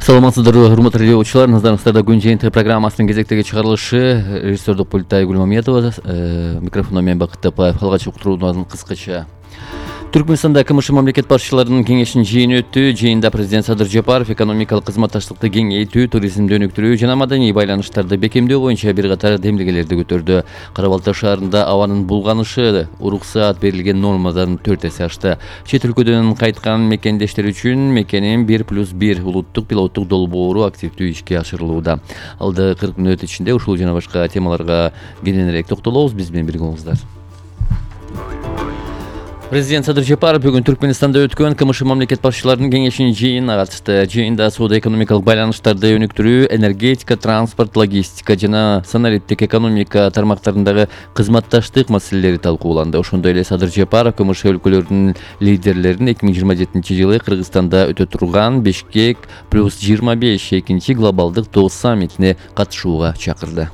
Саламатсыздарбы, урматтуу радиочулар. Назарыңыздарда күн жыйынтыгы программасынын кезектеги чыгарылышы. Режиссердик пультта Айгүл Мамедова, микрофондо мен Бакыт Тапаев. Алгач уктуруубузун кыскача. Түркмөнстанда КМШ мамлекет башчыларынын кеңешинин жыйыны өттү. Жыйында президент Садыр Жапаров экономикалык кызматташтыкты кеңейтүү, туризмди өнүктүрүү жана маданий байланыштарды бекемдөө боюнча бир катар демилгелерди көтөрдү. Кара Балта шаарында абанын булганышы уруксаат берилген нормадан 4 эсе ашты. Чет өлкөдөн кайткан мекендештер үчүн мекенин 1+1 улуттук пилоттук долбоору активдүү ишке ашырылууда. Алды 40 мүнөт ичинде ушул жана башка темаларга кененирээк токтолобуз. Биз менен бирге болуңуздар. Президент Садыр Жапаров бүгүн Түркмөнстанда өткөн КМШ мамлекет башчыларынын кеңешинин жыйынына катышты. Жыйында соода-экономикалык байланыштарды өнүктүрүү, энергетика, транспорт, логистика жана санариптик экономика тармактарындагы кызматташтык маселелери талкууланды. Ошондой эле Садыр Жапаров КМШ өлкөлөрүнүн лидерлерин 2027-жылы Кыргызстанда өтө турган Бишкек +25 экинчи глобалдык доо саммитине катышууга чакырды.